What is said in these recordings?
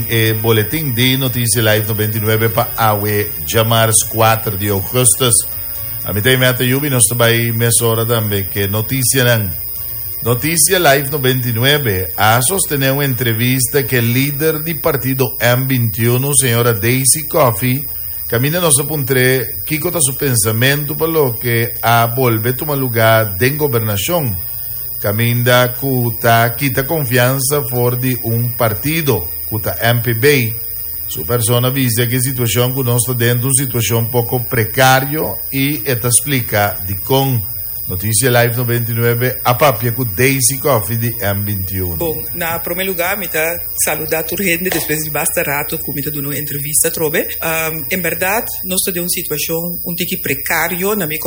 E boletin di Noticia Live 99 pa awe djamars 4 di augustus. Ami ta Imeta Yubi, nos ta bai mesora tambe ke noticianan. Noticia Live 99 a sostene un entrevista ke lider di partido M21, señora Daisy Coffie, kaminda nos a puntr'é kiko ta su pensamentu pa loke a bolbe tuma lugá den gobernashon. Caminda cu ta kita confiansa for di un partido, cu ta MPB. Su persona a bisa cu e situacion cu nos ta den ta un situacion poco precario y e ta splica dicon. Noticia Live 99 a papia cu Daisy Coffie di M 21. Bon, na prome lugar mi ta saluda tur hende despues di basta rato cu mi ta duna un entrevista atrobe. En berdad nos ta den un situacion un tiki precario na mi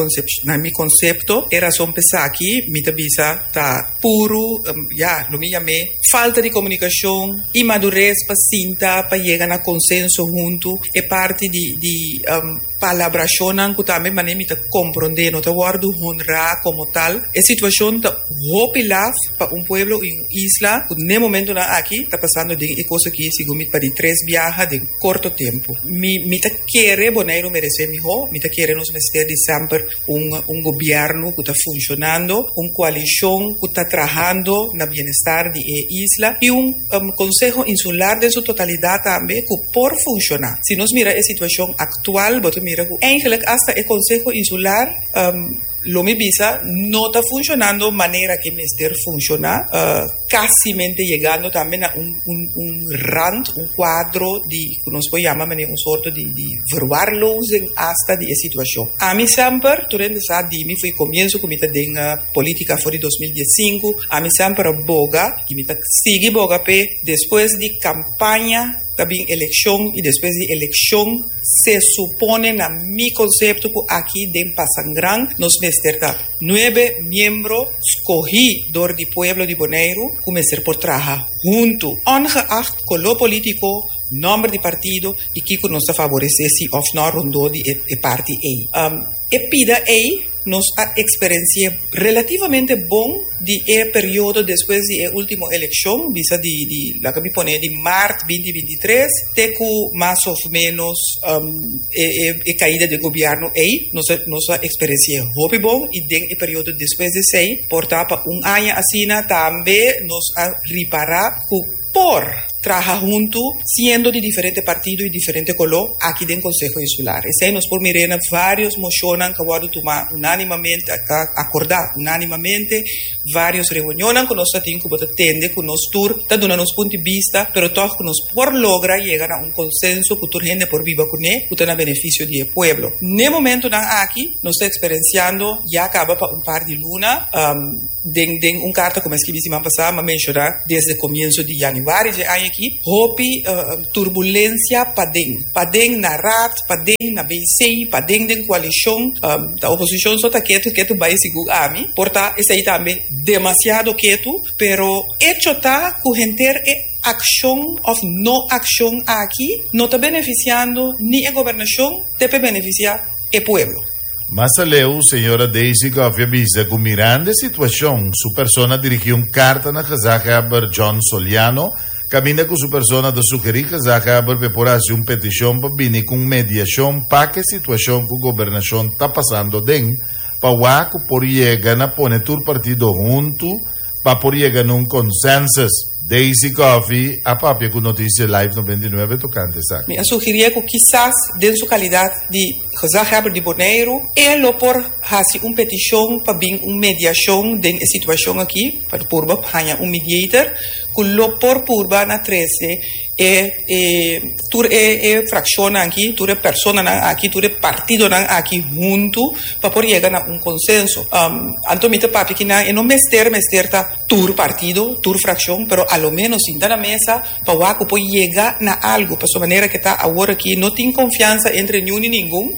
na mi concepto. E razon p'esaki mi ta bisa ta puru, ya, lo mi yam'é falta di comunicacion, inmadurez pa sinta pa yega na consenso hunto. E parti di di Palabrashonnan ku tambe manera mi ta komprondé no ta wòrdu honrá komo tal. E situashon ta hopi laf pa un pueblo i un isla ku n'e momentunan aki ta pasando den e kos aki segun mi pa di tres biaha den korto tempu. Mi mi ta kere Boneiru meresé mihó, mi ta kere nos mester di semper un un gobièrnu ku ta funshonando, un koalishon ku ta trahando na bienestar di e isla i un Konseho Insular den su totalidat tambe ku por funshoná. Si nos mira e situashon aktual bo ta mira ku eigenlik asta e Konseho Insular lo mi bisa no ta funshonando manera ke mester funshoná, kasimente yegando tambe na un un rand, un kuadro di ku nos por yama manera un sorto di di verwaarlozing asta di e situashon. Ami semper tur hende sa di mi for e komienso ku mi ta den politika for di 2015 ami semper a boga I mi ta sigui boga p'e despues di kampaña ta bin elekshon i despues di elekshon se supone na mi konsepto ku aki den Pasangran nos mester ta nuebe miembro skohí dor di pueblo di Boneiru ku mester por traha huntu ongeacht koló polítiko, nòmber di partido i kiko nos ta faboresé si òf nò rondó di e parti ei. E pida ei nos a eksperensi'é relativamente bon di e periodo despues di e último elekshon, bisa di di laga mi pone di mart binti 23 te ku mas òf ménos e e e kaida di e gobièrnu ei, nos a nos a eksperensi'é hopi bon i den e periodo despues di esei por ta pa un aña asina tambe nos a ripará ku por traha huntu siendo di diferente partido y diferente coló aki den Conseho Insular. Esey nos por mir'é na varios mocionnan cu a wordo tuma unanimamente, acorda unanimamente, varios reunionnan cu nos ta tin cu bo ta tende cu nos tur ta duna nos punto di bista, pero tog cu nos por logra yega na un consenso cu tur hende por biba cune cu ta na beneficio di e pueblo. N'e momentonan aki nos ta experienciando ya caba pa un par di luna, Den den un karta ku mi a skibi siman pasá mi a menshoná desde komienso di yanüari dje aña aki hopi turbulensia paden, paden na Raad, paden na BC, paden den koalishon. Ta oposishon so ta ketu ketu bai segun ami. Por ta esei tambe demasiado ketu, pero echo ta ku henter e akshon òf no akshon aki no ta benefisiando ni e gobernashon te pe benefisiá e pueblo. Mas aleu, señora Daisy Coffie a bisa ku mirando e situashon, su persona a dirigí un karta na gezaghebber John Soliano, kaminda ku su persona ta sugerí gezaghebber pa e por hasi un petishon pa bini ku un mediashon pa ku e situashon ku gobernashon ta pasando aden, pa wak ku por yega na pone tur partido huntu pa por yega na un consensus. Daisy Coffie a papia ku Noticia Live 99 tokante esaki. Mi a sugirie ku kisas den su kalidat di Gezaghebber di Boneiru e lo por hasi un petishon pa bin un mediashon den e situashon aki, pa purba haña un mediator ku lo por purba na trese e e tur e e frakshonnan aki, tur e personanan aki, tur e partidonan aki huntu pa por yega na un konsenso. Anto mi ta papia kinan e no mester mester ta tur partido, tur frakshon, pero a lo menos sinta na mesa pa wak ku por yega na algu, pasobra manera ke ta awor aki no tin konfiansa entre niun ni ningun,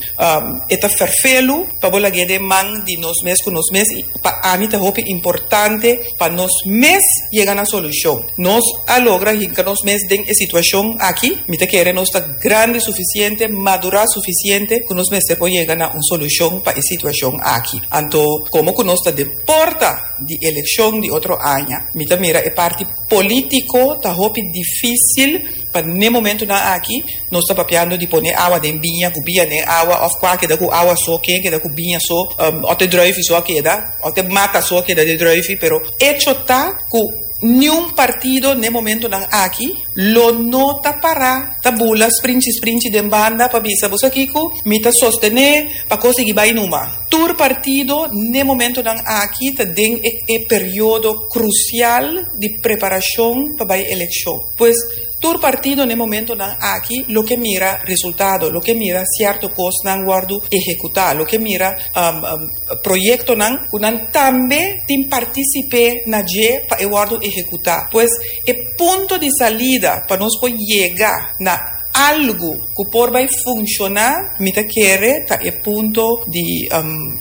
e ta ferfelu pa bo lag'é den man di nos mes ku nos mes i pa ami ta hopi importante pa nos mes yega na solushon. Nos a logra hinka nos mes den e situashon aki, mi ta kere nos ta grandi sufisiente, madurá sufisiente ku nos mester por yega na un solushon pa e situashon aki. Anto komo ku nos ta den porta di elekshon di otro aña, mi ta mira e parti polítiko ta hopi difísil. Pa n'e momentunan aki nos ta papiando di pone awa den biña, ku biña den awa òf kua keda ku awa so, ken keda ku biña so, òf te druifi so a keda, òf te mata so a keda den druifi, pero echo ta ku niun partido n'e momentunan aki lo no ta pará ta bula sprinchi sprinchi den banda pa bisa bo sa kiko mi ta sostené pa kos sigui bai numa. Tur partido n'e momentonan aki ta den e e periodo krusial di preparashon pa bai elekshon. Pues, tur partido n'e momentonan aki lo ke mira resultado, lo ke mira sierto kosnan wòrdu ehekutá, lo ke mira proyektonan ku nan tambe tin partisip'é na dje pa e wòrdu ehekutá. Pues, e punto di salida pa nos por yega na Algu ku por bai funshoná, mi ta kere, ta e punto di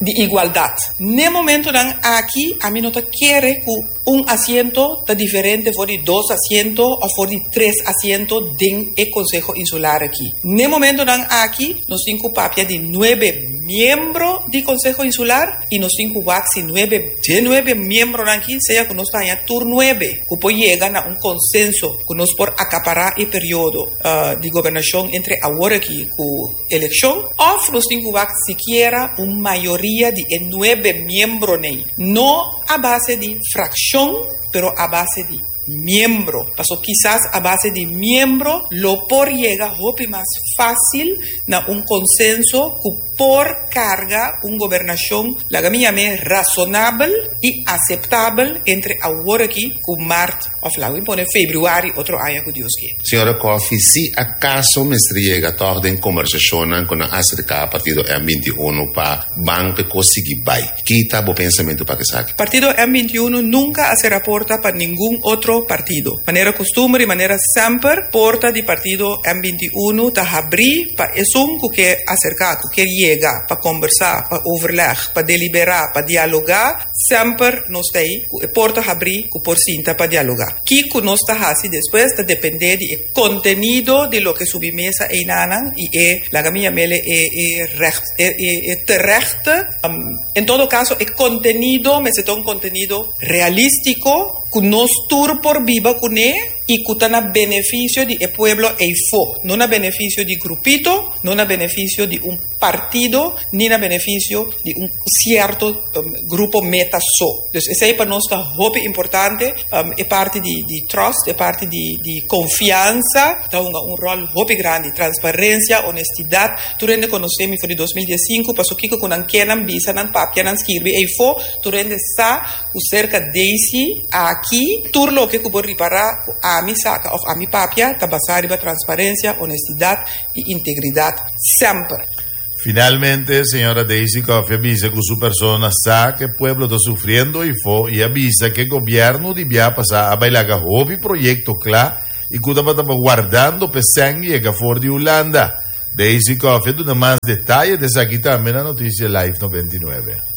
di igualdat. N'e momentonan aki ami no ta kere ku un asiento ta diferente for di dos asiento òf for di tres asiento den e Konseho Insular aki. N'e momentonan aki nos tin ku papia di nuebe miembro di Konseho Insular. I nos tin ku wak si nuebe dje nuebe miembronan aki, sea ku nos ta haña tur nuebe, ku por yega na un konsenso ku nos por akapará e periodo di gobernashon entre awor aki ku elekshon, òf nos tin ku wak sikiera un mayoria di e nuebe miembronei, no a base di frakshon, pero a base di miembro. Paso kisas a base di miembro lo por yega hopi mas fásil na un konsenso ku por karga un gobernashon, laga mi yam'é rasonabel i aseptabel entre awor aki ku mart òf laga mi pone februari otro aña ku Dios ke. Señora Coffie, si akaso mester yega tòg den kombersashonnan ku nan aserká partido M 21 pa ban p'e kos sigui bai, ki ta bo pensamentu pa esaki? Partido M 21 nunka a sera porta pa ningun otro partido. Manera kustumber i manera semper, porta di partido M 21 ta habrí Pa esun ku ke aserká, ku ke yega pa kombersá, pa overleg, pa deliberá, pa dialogá, semper nos ta ei ku e porta habrí ku por sinta pa dialogá. Kiko nos ta hasi despues ta dependé di e kontenido di loke subi mesa einanan i e, laga mi yam'ele, e e recht, e e e terechte, en todo kaso e kontenido mester ta un kontenido realístiko ku nos tur por biba kuné. i ku ta na benefisio di e pueblo eifó, no na benefisio di grupito, no na benefisio di un partido, ni na benefisio di un sierto grupo meta so. Dus esei pa nos ta hopi importante, e parti di di trust, e parti di di konfiansa ta hunga un ròl hopi grandi, transparensia, honestidat, tur hende konosé mi for di 2015, paso kiko ku nan ke nan bisa, nan papia, nan skirbi eifó, tur hende sa Ku serka Daisy aki, tur loke ku bo ripará ku ami saka òf ami papia ta basá riba transparensia, honestidat i integridat semper. Finalmente, señora Daisy Coffie a bisa ku su persona sa ku e pueblo ta sufriendo ifo i a bisa ku e gobièrnu di bia pasá a bai laga hopi proyekto kla i ku tabata wardando p'e sèn yega for di Hulanda. Daisy Coffie a duna mas detaye di esaki tambe na Noticia Live 99.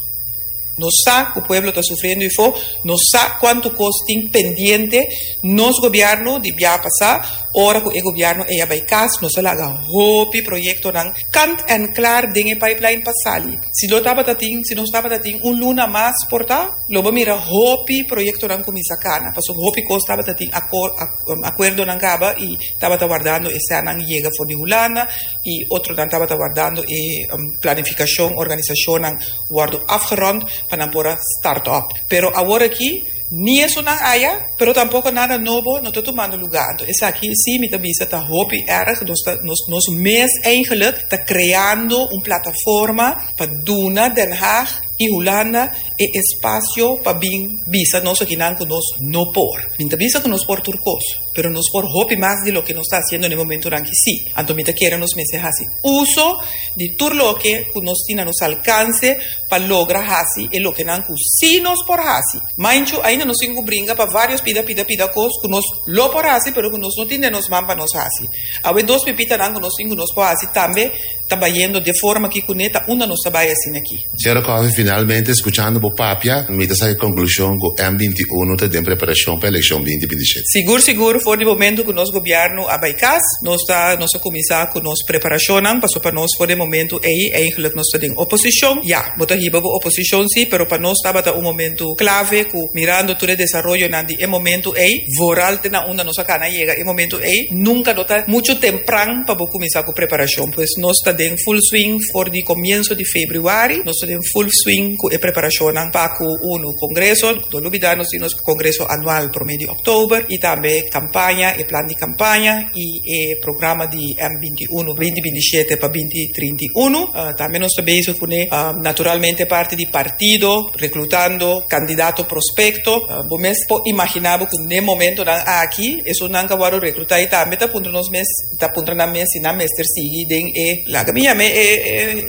Nos sa ku pueblo ta sufriendo ifo, nos sa kuantu kos tin pendiente. Nos gobièrnu di bia pasá, ora ku e gobièrnu ei a bai kas, nos a laga hopi proyektonan kant en klar den e pipeline pa sali. Si lo tabata tin, si nos tabata tin un luna mas por ta, lo bo mira hopi proyektonan kuminsá kana, pasobra hopi kos tabata tin akuerdonan kaba i tabata wardando e sènnan yega for di Hulanda i otronan tabata wardando e planifikashon, organisashonnan. Wòrdu afgerond pa nan por a start up. Pero awor aki ni esunnan aya, pero tampoko nada nobo no ta tumando lugá. Anto esaki sí mi ta bisa ta hopi erg. Nos ta nos nos mes eigenlijk ta kreando un plataforma pa duna Den Haag i Hulanda e espasio pa bin bisa nos akinan ku nos no por. Mi ta bisa ku nos por tur kos. Pero nos por hopi mas di loke nos ta hasiendo na e momentonan aki sí. Anto mi ta kere nos mester hasi uso di tur loke ku nos tin na nos alkanse pa logra hasi e lokenan ku sí nos por hasi. Mainchu ainda nos tin ku bringa pa vários pida pida pida kos ku nos lo por hasi pero ku nos no tin den nos man pa nos hasi. Awe dos pipitanan ku nos tin ku nos por hasi tambe ta bayendo de forma ki kuné ta unda nos ta bai asina aki. Señora Coffey, finalmente escuchando bo papia, mi ta saca e conclusion cu M 21 ta den preparacion pa eleccion 2027. Sigur sigur. For di momento ku nos gobièrnu a bai kas, nos ta nos a kuminsá ku nos preparashonnan, pasobra pa nos for di e momento ei eigenlijk nos ta den oposishon. Ya, bo ta hiba bo oposishon sí, pero pa nos tabata un momento klave ku mirando tur e desaroyonan di e momento ei, vooral te na unda nos a kana yega e momento ei, nunka no ta muchu tempran pa bo kuminsá ku preparashon. Pues nos ta den full swing for di komienso di febrüari, nos ta den full swing ku e preparashonnan pa ku unu kongreso, no lubidá nos tin nos kongreso anual promé di òktober i tambe kampaña, e plan di kampaña i e programa di M 21, 2027 pa 2031. Tambe nos ta bezig kuné naturalmente parti di partido, Reclutando candidato prospecto. Bo mes por imagina bo cu n'e momentonan aki esunnan cu a wordo recluta y tambe ta puntra nos mes, ta puntra nan mes si nan mester sigui den e, laga mi yam'e e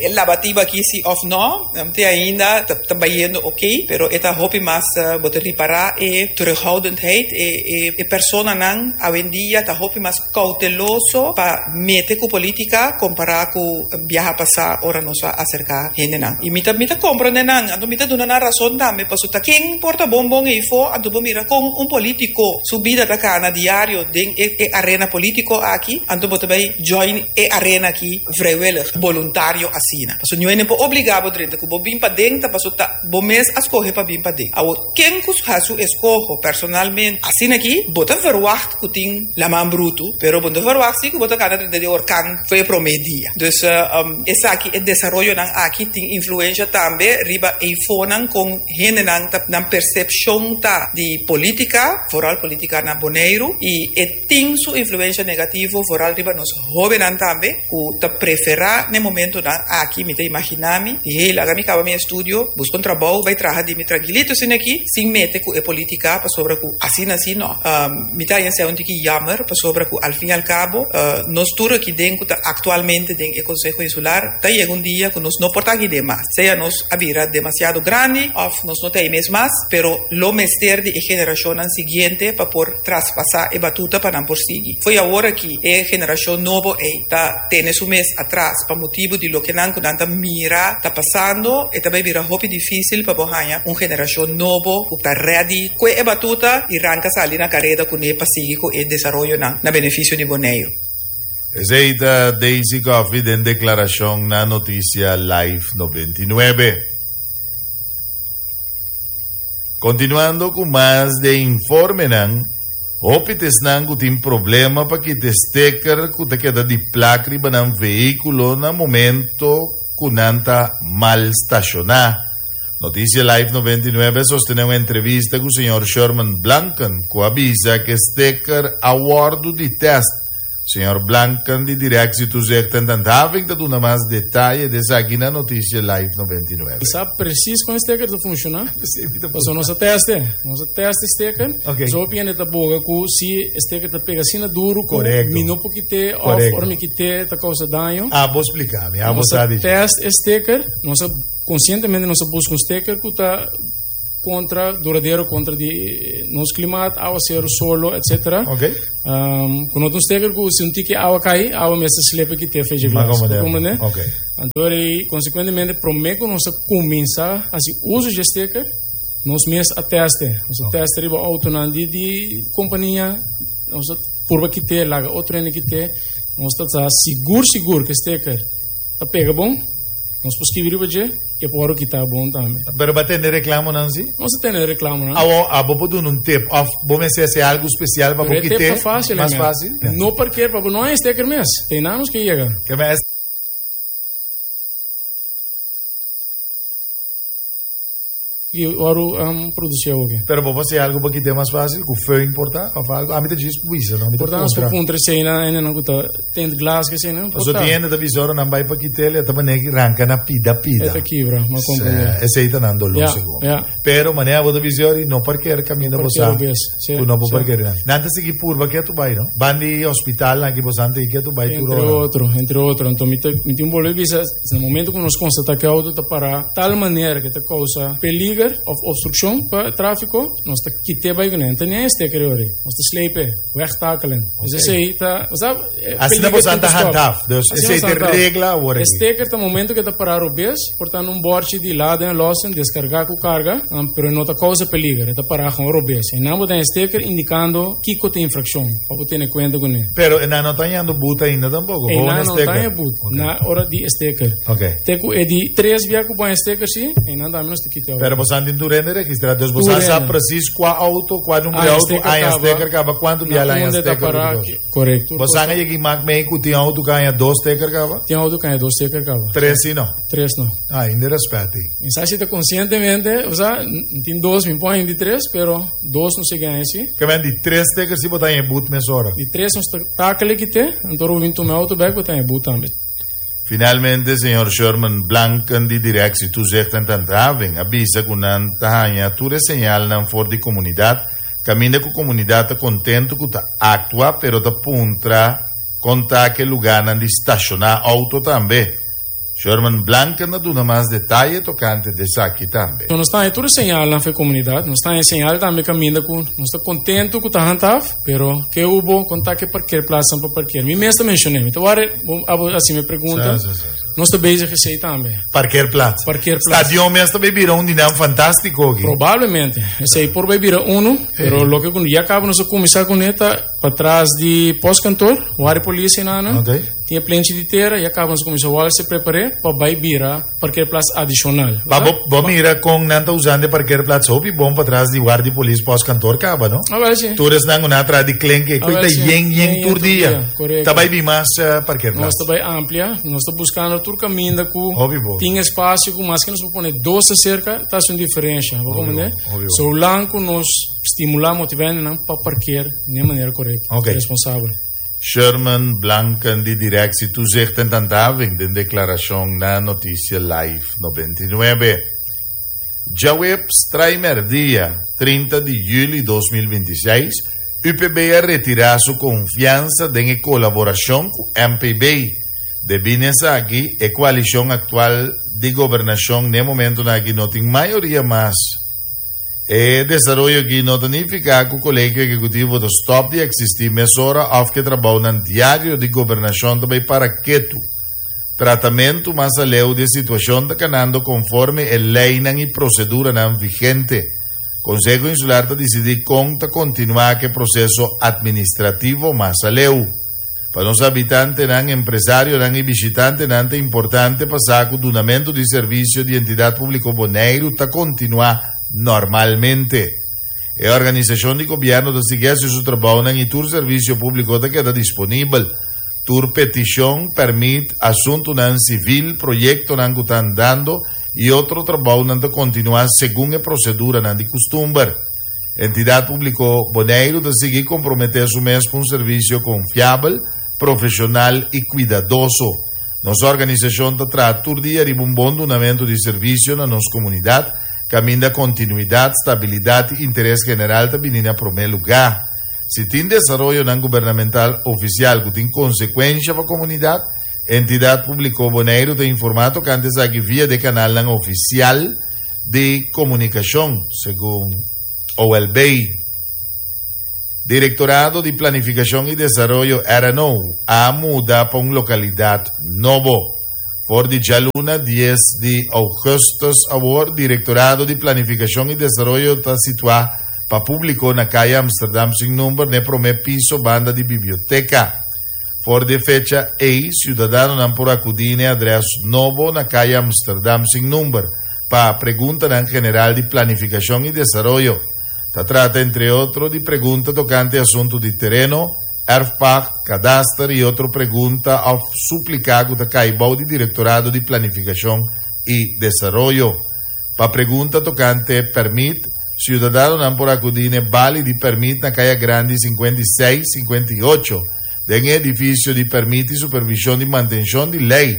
e labatiba aki si of no. Te ainda ta ta bayendo ok, pero e ta hopi mas bo ta ripara e terughoudendheid, e e e personanan awendia ta hopi mas cauteloso pa mete cu politica compara cu biaha pasa ora nos a acerca hendenan. Y mi ta mi ta comprende nan, anto mi ta duna nan razon tambe, pasobra ta ken por ta bon bon eyfo, anto bo mira con un politico su bida ta cana diario den e e arena politico aki, anto bo ta bay join e arena aki vrijwillig, boluntario asina. Pasobra niun hende por obliga bo drenta, cu bo bin paden ta pasobra ta bo mes a scoge pa bin paden. Awor. Ken ku hasi su eskoho personalmente asina aki, bo ta verwagt ku tin laman brutu, pero bo no ta verwagt si ku bo ta kana drenta di orkan for e promé dia. Dus esaki, e desaroyonan aki tin influensha tambe riba eifonan kon hendenan ta nan persepshon ta di polítika, vooral polítika na Boneiru, i e tin su influensha negativo vooral riba nos Hóbennan tambe ku ta preferá n'e momentonan aki, mi ta imaginá mi, di hey, laga mi kaba mi estudio, buska un trabou, bai traha di mi trankilito asina aki, sin mete ku e polítika, pasobra ku asina si no. Mi ta haña esei un tiki jammer, pasobra ku al fin i al kabo, nos tur aki den ku ta aktualmente den e Konseho Insular, ta yega un dia ku nos no por ta aki den mas, sea nos a bira demasiado grandi òf nos no ta ei mes mas, pero lo mester di e generashonnan siguiente pa por traspasá e batuta pa nan por sigui. Fo'i awor aki e generashon nobo ei ta tene su mes atras pa motibu di loke nan ku nan ta mira ta pasando, e ta bai bira hopi difísil pa bo haña un generashon nobo ku ta ready kue e batuta i ranka sali na kareda kuné pa sigui ku e desaroyonan na benefisio di Boneiru. Esei ta Daisy Coffie den deklarashon na Noticia Live 99. Kontinuando ku mas de informenan, hopi ta esnan ku tin problema pa kita e steker ku ta keda di plak riba nan vehíkulo na momento ku nan ta mal stashoná. Noticia Live 99 a sostené un entrevista ku señor Sherman Blanken ku a bisa ku e steker a wòrdu di tèst. Señor Blanken di Directie Toezicht en Handhaving ta duna mas detaye di esaki na Noticia Live 99. Mi sa precies con e sticker ta funciona. Pasobra nos a teste. Nos a teste e sticker. Okay. So hopi hende ta boga cu si e sticker ta pega asina duro cu Correcto. mi no por kite of Correcto. ora mi kite ta causa daño. Abo splica mi, abo Nos sa a di. test e sticker. Nos a conscientemente nos a busca un sticker cu ta contra duradero contra di nos klimaat, awasero, solo, etcetera. Ok. Um, ku no ta un steker ku si un tiki awa kai, awa mester slepe kite fecha Maar glas. como Como ne? Ok. Anto rei, consecuentemente, promé ku nos a kuminsá hasi uso dje steker, nos mes a teste. Nos a teste riba autonan di di kompania, nos a purba kite, laga otro hende kite. Nos ta sa sigur sigur ku e steker ta pega bon, nos por skibi riba dje. E por wòrdu kitá bon tambe. Pero bo a tende reklamonan si? Nos a tende reklamonan. Awor, abo por duna un tip òf bo mester hasi algu spesial pa bo Pero e tip kit'é ta fásil, mas Emel. fásil? No parker pa bo no haña steker mes. Te einan nos ke yega. Ke mes. I wòrdu produsí awoke. Pero bo por hasi algu pa kit'é mas fásil ku föhn por ta òf algu? Ami ta djis bisa, no? Mi ta Por ta nos por puntra. puntra esei na hendenan ku ta Tint glass ke sina. Paso tin hende ta bisa ora nan bai pa kit'el e ta manera ki ranka na pida pida. E ta kibra, ma comprende. Sí, esei ta nan dolor Ja, segun. ja. Pero manera bo ta bisa ora no parker kaminda bo sa. Parker obes, sí, Ku no por sí. parker nan. Nan ta sigui purba ke tu bai no. Ban di hospital nan ki bo san ta ke tu bai tur Entre ora. otro, entre otro. Anto mi ta mi tin bolbe bisa, na momento ku nos konstata ku e auto ta para tal manera ku ta kousa peligro. peliger òf obstrukshon pa tráfiko, nos ta kit'é bai kuné. No ta ni sticker ei ora ei. Nos ta sleep e, wegtakelen. Dus esei ta, bo sa, e Asina peliger boso tin ta ku stòp. handhaaf. Dus Asina esei nos ta handhaaf. regla awor E aki. sticker ta momento ku e ta pará robes, por ta na un bòrchi di laden en lossen, deskargá ku karga, pero e no ta kousa peliger, e ta pará gewoon robes. Einan bo ta haña sticker indikando kiko ta infrakshon, pa bo tene kuenta kuné. Pero nan no ta hañando but ainda tampoko, gewoon Einan e no ta sticker. haña but na ora di e sticker. Ok. Te ku e di tres bia ku bo haña sticker si, einan tambe nos ta kita Pero boso tin tur hende registrá, dus boso Tur sa hende. precies kua auto, kua numero di Haña auto, sticker haña kaba. sticker kaba, kuantu Na bia la haña unda ta sticker pará, tur kos. korekto. Boso a yega mak mee ku tin auto ku haña dos sticker kaba? Tin auto ku haña dos sticker kaba. Tres si no. Tres no. Ah, ainda respet ei. Mi sa si ta konsientemente, osea, mi tin dos, mi por haña di tres, pero dos no sigui haña si. Ke men di tres sticker si bo ta haña e but mesora. Di tres nos ta takele kite, anto ora bo bin tuma e auto bek bo ta haña e but tambe. Finalmente señor Sherman Blanken di Directie Toezicht en Handhaving a bisa ku nan ta haña tur e señalnan for di komunidat kaminda ku komunidat ta kontentu ku ta aktua pero ta puntra kon ta ku e lugánan di stashoná outo tambe. Sherman Blanken a duna mas detaye tokante di esaki tambe. Nos ta haña tur e señalnan for e komunidat. Nos ta haña señal tambe kaminda ku nos ta kontentu ku ta handhaaf, pero ke hubo kon ta ke parkeerplaatsnan pa parkeer. Mi mes ta menshoné, mi ta wòrdu bo abo hasi mi pregunta. Sí, sí, sí, sí. Nos ta bezig esei tambe. Parkeerplaats. Parkeerplaats. Stadion mes ta bay bira un di nan fantástiko aki. Probablemente. Esei por bay bira unu, pero loke ku ya kaba nos a kuminsá kuné ta patras di postkantoor, wòrdu polis einan. Ok. Tin e plenchi di tera, ya caba nos cuminsa wal se prepare pa bay bira parkeerplaats adicional. Ma bo, bo mira con nan ta usando e parkeerplaats hopi bon patras di guardi polis postkantoor caba, no? Ah, wel si. Tur esnan cu nan atrás di klenki, e Ah, koe wel ta si. yen yen Yen yen tur tur dia. dia, correcto. Ta bay bin mas eh, parkeerplaats. Nos ta bay amplia, nos ta buscando tur caminda cu Hopi bon. tin espacio cu maske nos por pone dos acerca, ta haci un diferencia. Bo Hopi comprende? bon, hopi bon. Zolang cu nos stimula, motiva hendenan pa parkeer den e manera correcto, Ok. responsabel. Sherman Blanken di Directie Toezicht en Handhaving den deklarashon na Noticia Live 99. Djaweps traimerdia, 30 di yüli 2026, UPB a retirá su konfiansa den e kolaborashon ku MPB. Debí na esaki, e koalishon aktual di gobernashon n'e momentunan aki no tin mayoria mas. E desaroyo aki no ta nifiká ku Kolegio Ehekutivo ta stòp di eksistí mesora òf ku e trabounan diario di gobernashon ta bai para ketu. Tratamentu mas aleu di e situashon ta kanando konforme e leinan i proseduranan vigente. Konseho Insular ta disidí kon ta kontinuá ku e proseso atministrativo mas aleu. Pa nos habitantenan, empresarionan i bishitantenan ta importante pa sa ku dunamentu di servisio di Entidat Públiko Boneiru ta kontinuá normalmente. E organisashon di gobièrnu ta sigui hasi su trabounan i tur servisio públiko ta keda disponibel. Tur petishon, pèrmit, asuntunan sivil, proyektonan ku ta andando i otro trabounan ta kontinuá segun e proseduranan di kustumber. Entidat Públiko Boneiru ta sigui komprometé su mes pa un servisio konfiabel, profeshonal i kuidadoso. Nos organisashon ta traha tur dia riba un bon dunamentu di servisio na nos komunidat, kaminda kontinuidat, stabilidat i interes general ta bini na promé lugá. Si tin desaroyonan gubernamental ofisial ku tin konsekuensha pa komunidat, Entidat Públiko Boneiru ta informá tokante esaki via di e kanalnan ofisial di komunikashon, segun OLB. Direktorado di Planifikashon i Desaroyo, RNO, a muda pa un lokalidat nobo. For di djaluna dies di ougùstùs awor, Direktorado di Planifikashon i Desaroyo ta situá pa públiko na Kaya Amsterdam sin number n'e promé piso banda di biblioteka. For di e fecha ei, siudadanonan por akudí n'e adrès nobo na Kaya Amsterdam sin number pa preguntanan general di planifikashon i desaroyo. Ta trata entre otro di pregunta tokante asuntu di tereno, erfpacht, kadaster i otro pregunta òf supliká ku ta kai bou di Direktorado di Planifikashon i Desaroyo. Pa pregunta tokante pèrmit, siudadanonan por akudí n'e bali di pèrmit na Kaya Grandi 56, 58, den e edifisio di Pèrmit i Supervishon di Mantenshon di Lei,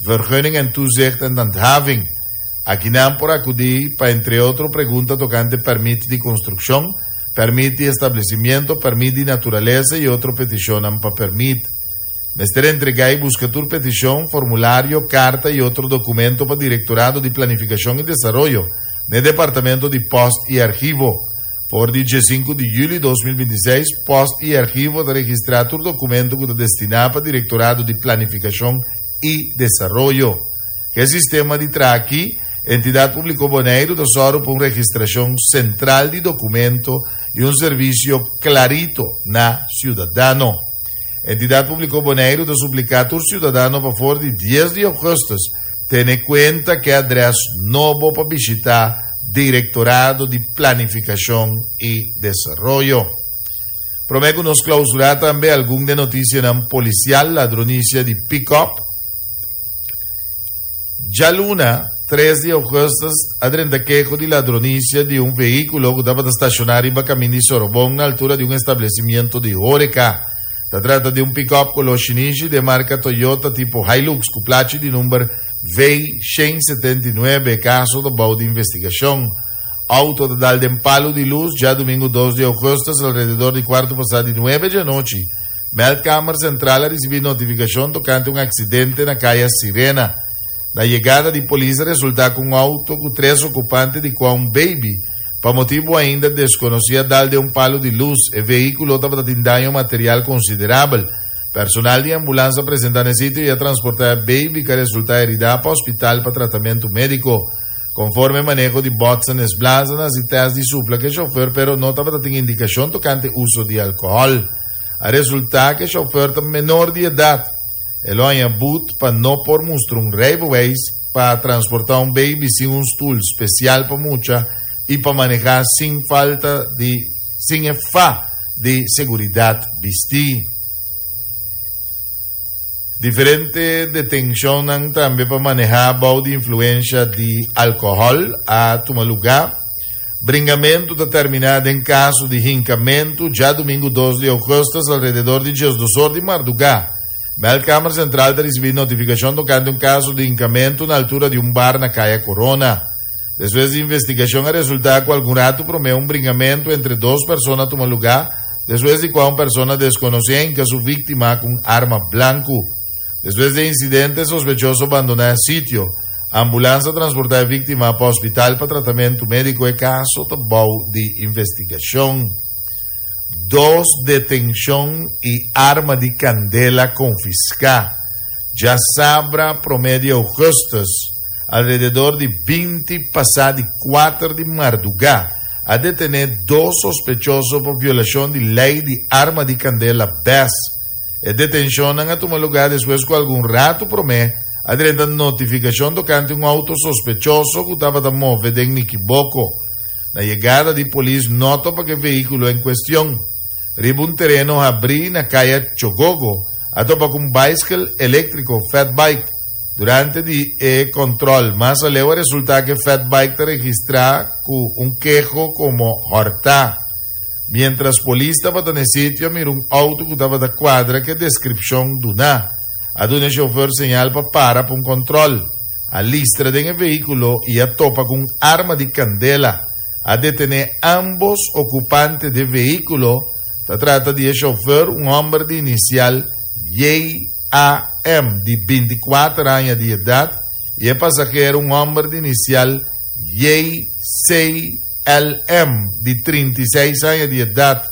Vergunning en Toezicht en Handhaving. Akinan por akudí pa entre otro pregunta tokante pèrmit di konstrukshon, pèrmit di establesimiento, pèrmit di naturalesa i otro petishonnan pa pèrmit. Mester entregá i buska tur petishon, formulario, karta i otro dokumento pa Direktorado di Planifikashon i Desaroyo. na e Departamento di Post i Archivo. For di diesinku di yüli 2026, Post i Archivo ta registrá tur dokumento ku ta destiná pa Direktorado di Planifikashon i Desaroyo. Ku e sistema di traha akí, Entidat Públiko Boneiru ta sòru pa un registrashon sentral di dokumento i un servisio klarito na siudadano. Entidat Públiko Boneiru ta supliká tur siudadano pa for di dies di ougùstùs tene kuenta ku e adrès nobo pa bishitá Direktorado di Planifikashon i Desaroyo. Promé ku nos klousurá tambe algun de notisianan polisial, ladronisia di pikòp. Djaluna, tres di ougùstùs, a drenta keho di ladronisia di un vehíkulo ku tabata stashoná riba kamin di Sorobon na altura di un establesimiento di hóreka. Ta trata di un pikòp koló shinishi di e marka Toyota tipo Hilux ku plachi di number V179. E kaso ta bou di investigashon. Outo ta dal den palu di lus djadumingu dos di ougùstùs alrededor di kuartu pasá di nuebe djanochi. Meldkamer Sentral a risibí notifikashon tokante un aksidente na Kaya Sirena. Na yegada di polis a resultá ku un outo ku tres okupante di kua un beibi, pa motibu ainda deskonosí a dal den un palu di lus. E vehíkulo tabata tin daño material konsiderabel. Personal di ambulans a presentá na e sitio i a transportá e beibi ku a resultá heridá pa hospital pa tratamentu médiko. Konforme maneho di botsen es blaza na hasi tèst di supla ku e shofèr pero no tabata tin indikashon tokante uso di alkohòl. A resultá ku e shofèr ta menor di edat. E lo haña but pa no por mustra un rijbewijs pa transportá un baby sin un stul spesial pa mucha i pa manehá sin falta di sin e fa di seguridat bistí. Diferente detenshonnan tambe pa manehá bou di influensha di alkohòl a tuma lugá. Bringamentu ta terminá den kaso di hinkamentu djadumingu dos di ougùstùs alrededor di diesdosor di mardugá. Meldkamer Sentral ta risibí notifikashon tokante un kaso di hinkamentu na altura di un bar na Kaya Korona. Despues di investigashon a resultá ku algun ratu promé un bringamentu entre dos persona a tuma lugá, despues di kua un persona deskonosí a hinka su víktima ku un arma blanku. Despues di e insidente, e sospechoso bandoná e sitio. Ambulans a transportá e víktima pa hospital pa tratamentu médiko. E kaso ta bou di investigashon. Dos detenshon i arma di kandela konfiská djasabra promé di ougùstùs alrededor di binti pasá di kuater di mardugá a detené dos sospechoso pa violashon di lei di arma di kandela bes. E detenshonnan a tuma lugá despues ku algun ratu promé a drenta notifikashon tokante un outo sospechoso ku tabata move den Nikiboko. Na yegada di polis no topa ku e vehíkulo en kuestion. Riba un tereno habrí na kaya Chogogo a topa ku un baiskel eléktriko, fatbike. Durante di e kòntròl mas aleu a resultá ku e fatbike ta registrá ku un keho komo hòrtá. Miéntras polis tabata na e sitio a mira un outo ku tabata kuadra ku e deskripshon duná. A duna e shofer señal pa para pa un kòntròl. A listra den e vehíkulo i a topa ku un arma di kandela. A detené ámbos okupante di e vehíkulo. Ta trata di e shofer, un hòmber di inisial JAM. di 24 aña di edat, i e pasahero, un hòmber di inisial JC. LM. di 36 aña di edat,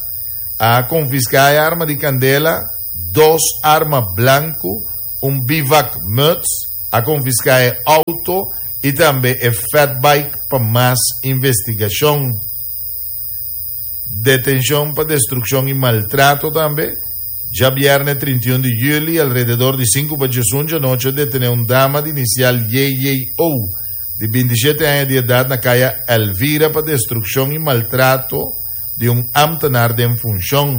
a konfiská e arma di kandela, dos arma blanku, un bivak muts, a konfiská e outo i tambe e fatbike pa mas investigashon. Detenshon pa destrukshon i maltrato tambe. Djabièrnè 31 di yüli, alrededor di sinku pa diesun djanochi a detené un dama di inisial JJO. di 27 aña di edat na kaya Elvira pa destrukshon i maltrato di un ámtenar den funshon.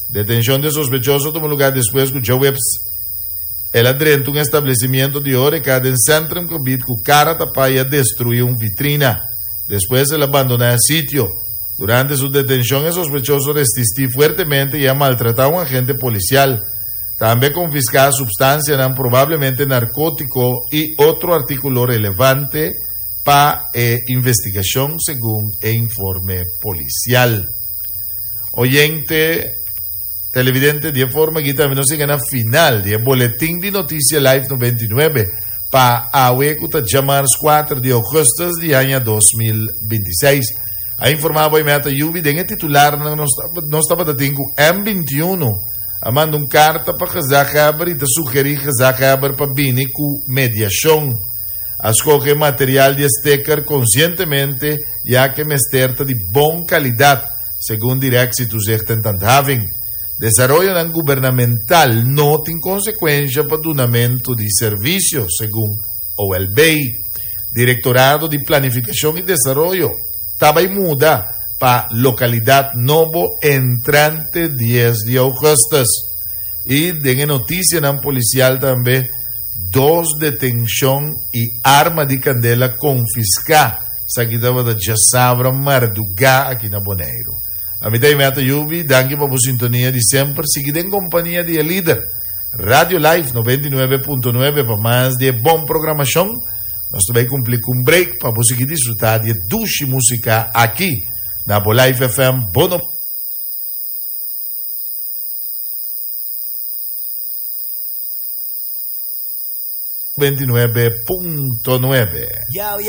Detenshon di e sospechoso a tuma lugá despues ku djaweps el a drenta un establesimiento di horeca den Centrumgebied ku kara tapá i a destruí un vitrina. Despues el a bandoná e sitio. Durante su detenshon e sospechoso resistí fuertemente i a maltratá un agente polisial. Tambe a konfiská supstansianan probablemente narkótiko i otro artíkulo relevante pa e investigashon, segun e informe polisial. Oyente, televidente, di e forma aki tambe nos yega na final di e boletin di Noticia Live 99. Pa awe ku ta djamars 4 di ougùstùs di aña 2026. A informá bo Meta Yubi den e titularnan nos nos tabata tin ku M21 a manda un karta pa gezaghebber i ta sugerí gezaghebber pa bini ku mediashon. A skohe material di e steker konsientemente ya ku e mester ta di bon kalidat, segun Directie Toezicht en Handhaving. Desaroyonan gubernamental no tin konsekuensha pa dunamentu di servisio, segun OLB. Direktorado di Planifikashon i Desaroyo ta bai muda pa lokalidat nobo entrante dies di ougùstùs. I den e notisianan polisial tambe dos detenshon i arma di kandela konfiská. Esaki tabata djasabra mardugá aki na Boneiru. Ami ta Imeta Yubi, danki pa bo sintonia di semper. Sigui den kompania di e lider, Radio Life 99.9 pa mas di e bon programashon. Nos ta bai kumpli ku un break pa bo sigui disfrutá di e dushi músika aki na bo Life FM bo 99.9.